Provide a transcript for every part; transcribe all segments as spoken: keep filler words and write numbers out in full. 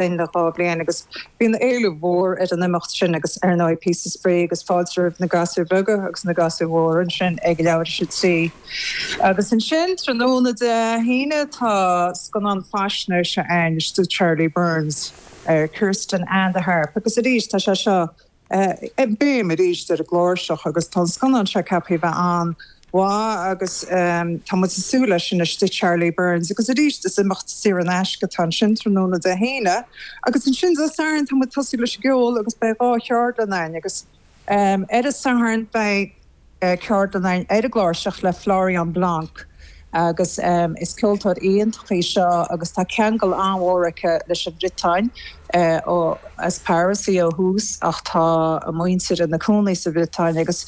linn le dhá bhliain agus bíonn éileamh mhór ar an imeacht sin agus ar ndóigh píosa spraoi agus fáilte roimh na gasúir bheaga agus na gasúir mhóra ansin ag leathuair tar éis a trí. Agus ansin tráthnóna Dé hAoine tá scannán faisnéise ann do Charlie Byrne ar Kirsten and the Harp agus arís tá sé seo béim arís ar an gcláirseach agus tá scannán seo ceaptha bheith an-mhaith agus um, tá muid ag súil leis sin istigh Charlie Byrne agus arís is imeacht saor in aisce atá ansin tráthnóna Dé hAoine agus ansin Dé Sathairn tá muid tosú leis an gceol agus beidh dhá cheardlann ann agus um, ar an Satharn beidh uh, ceardlann ann ar an gcláirseach le Florian Blanc. agus um, is ceoltóir iontach í seo agus tá ceangal an-mhór aici leis an Bhriotáin uh, ó as Paris í ó thús ach tá a muintir ina cónaí sa Bhriotáin agus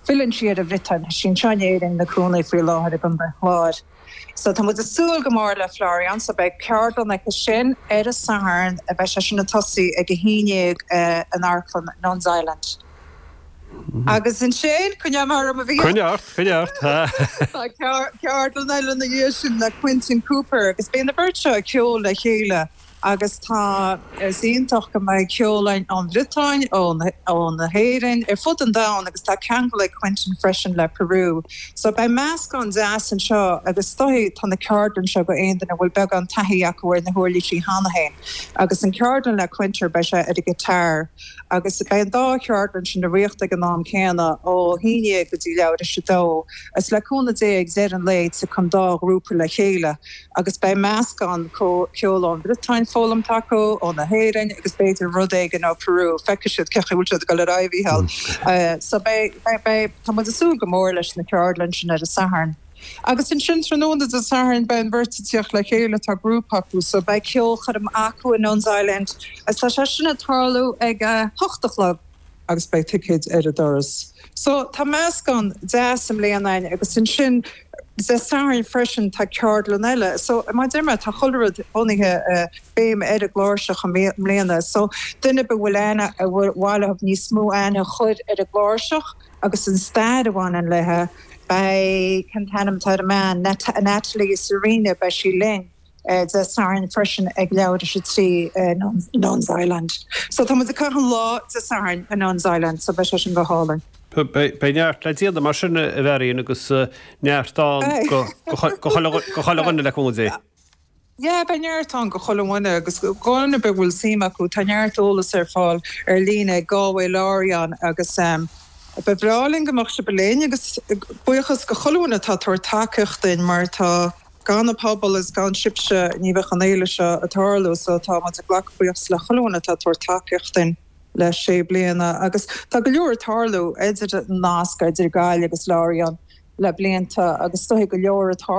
filleann sí ar an Bhriotáin sin seanéir na cónaí faoi láthair ag an Chlár. So tá muid ag súil go mór le Florian so beidh ceardlann aici sin ar an Satharn a bheidh sé sin ag tosú ag a haon déag uh, in Amharclann Nuns Island. Agus ansin chun mar a bhí Cuneart chuneart Ceardlann eile na dhiaidh sin le Quentin Cooper agus bíonn an bheirt seo ag ceol le chéile agus tá is iontach go mbeidh ceol ón Bhriotáin ón ón hÉirinn ar fud an domhain agus tá ceangal ag Quentin freisin le Peru. So beidh meascán deas anseo agus stoí tá na ceardlann seo go aon duine a bhfuil beagán taithí acu ar na huirlisí cheana féin. agus an ceardlann le Quentin beidh sé ar an guitar agus beidh an dá cheardlann sin á reáchtáil ag an am céanna ó haon déag go dtí leathuair tar éis a dó. Is le cúnamh Dé ag deireadh an lae tiocfaidh an dá ghrúpa le chéile agus beidh meascán ceol ón Bhriotáin foghlamtha acu ó na hÉirinn agus b'fhéidir rud éigin ó Peru feicfidh siad cé bhfuil siad go le raibhíhall. So tá muid ag súil go mór leis na ceardlann sin ar an Satharn. Agus ansin tráthnóna Dé Sathairn beidh an bheirt ag teacht le chéile tá grúpa acu, so beidh ceolchoirm acu in Nuns Island agus tá sé sin ag tarlú ag hocht a chlog agus beidh ticéid ar an doras. So tá meascán deas i mbliana agus ansin Dé Sathairn freisin tá ceardlann eile. So mar deir mé tá chuile rud bunaithe uh, béim ar an gcláirseach i mbliana. So duine a bhfuil aithne a bhfuil bhfuil níos mó aithne chur ar an gcláirseach agus an stair a bhaineann léi beidh an t-ainm atá man Natalie Serena beidh sí linn. Uh, Dé Sathairn freisin ag leathuair tar éis a trí uh, Nuns Island. So tá muid ag caitheamh an lá Dé Sathairn in Nuns Island, so beidh sé sin go hálainn. Beidh neart le déanamh mar sin a Mharion agus neart ann go chuile dhuine le cúnamh Dé. Ja, beidh neart ann go chuile dhuine agus gona be bhfuil suim acu tá neart eolas ar fáil ar líne Galway Lorient agus um, Ba bhreá linn go mbeadh sibh linn agus buíochas go chuile dhuine atá ag tabhairt tacaíocht dúinn mar tá gan an pobal is gan sibhse ní bheadh an fhéile seo ag tarlú so tá muid ag glacadh buíochas le chuile dhuine atá ag tabhairt tacaíocht dúinn le sé bliana agus tá go leor ag tarlú idir nasc idir Gaillimh agus Lorient le blianta agus stoí go leor atá